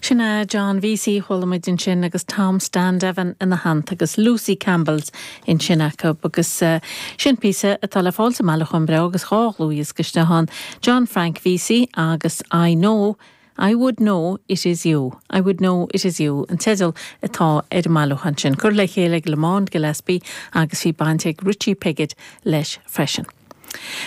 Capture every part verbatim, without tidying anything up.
Sin é John Vesey chuala muid ansin agus Tom Standeven ina theannta agus Lucy Campbell's ansin acu agus uh, sin píosa atá le fáil sa mbailiúchán breá agus dhá dhlúthdhiosca istigh ann John Frank Vesey agus I know I would know it is you. I would know it is you an teideal atá ar an mbailiúchán sin. Curtha le chéile ag Lamont Gillespie agus bhí baint ag Richie Piggott leis freisin.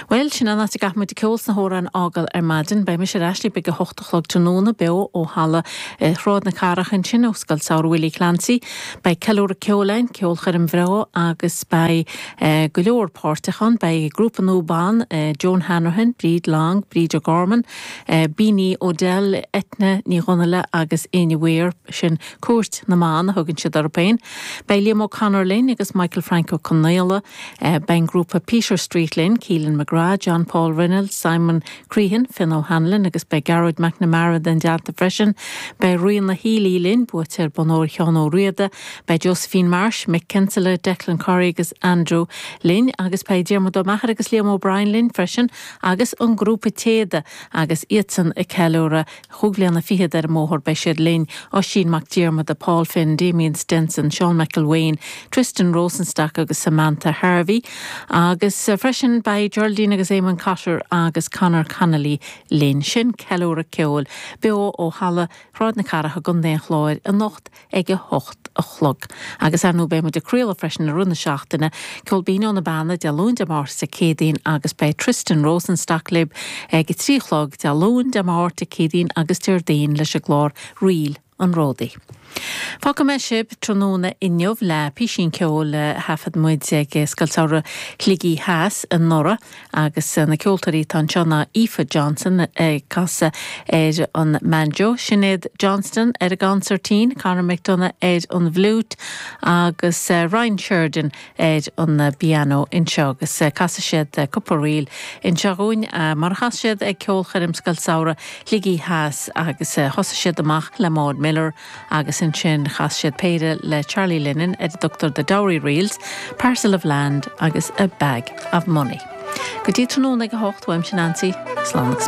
Well sin an áit a gcaithfidh muid ceol sna hamhráin a fhágáil ar maidin, beidh mise ar ais libh ag a hocht a chlog tráthnóna beo ó halla eh, Shráid na Cathrach ansin ó Scoil Samhraidh Willie Clancy, Beidh ceiliúradh ceoil ann ceolchoirm bhreá agus beidh eh, go leor páirteach ann, beidh grúpa nua ban eh, Joan Hanrahan, Bríd Long, Bríd O'Gorman, eh, Beanie Odell, Etna Ní Dhonnaile agus Áine Weir sin Cúirt na mBan a thugann siad orthu féin. Beidh Liam O'Connor linn agus Michael Frank Ó Conaola, eh, beidh grúpa Peter Street linn, Keelan McGrath, John Paul Reynolds, Simon Crehan, Finn O'Hanlon agus beidh Gearóid McNamara ina dteannta freisin, beidh Ríona Healy linn buaiteoir Bonn Óir Sheán Ó Riada, beidh Josephine Marsh, Mick Kinsella, Declan Curry agus Andrew linn agus beidh Diarmuid Ó Meachair agus Liam O'Brien linn freisin agus an grúpa Téada agus iadsan ag ceiliúradh chúig bliana fichead ar an mbóthar beidh siad linn Oisín Mac Diarmada, Paul Finn, Damien Stenson, Sean McElwain, Tristan Rosenstock agus Samantha Harvey agus eh, freisin beidh Geraldine agus Eamon Cotter agus Conor Connolly linn sin ceiliúradh ceoil beo ó halla Shráid na Cathrach i gContae an Chláir anocht ag a hocht a chlog. Agus ar ndóigh beidh muid ag craoladh freisin i rith na seachtaine, ceol binn ó na Beanna Dé Luain Dé Máirt Dé Céadaoin agus beidh Tristan Rosenstock libh ag trí a chlog Dé Luain Dé Máirt Dé Céadaoin agus Déardaoin leis an gclár Ríl an Ródaí. Fágfaidh mé sibh tráthnóna inniu le píosín ceoil a thaifead muid ag Scoil Samhraidh Shligigh Theas anuraidh agus na ceoltóirí atá anseo ná Aoife Johnson ag casadh ar an mbanjo, Sinéad Johnston ar an gconsairtín, Conor McDonough ar an bhfliúit agus Ryan Sheridan ar an bpianó anseo agus casfaidh siad cúpla ríl anseo dhúinn mar a chas siad ag ceolchoirm Scoil Samhraidh Shligigh Theas agus thosaigh siad amach le Maud Miller agus ansin chas siad péire le Charlie Lennon ar a dtugtar The Dowry Reels, Parcel of Land agus a Bag of Money. Go dtí tráthnóna ag a hocht uaimse Nancy, slán agus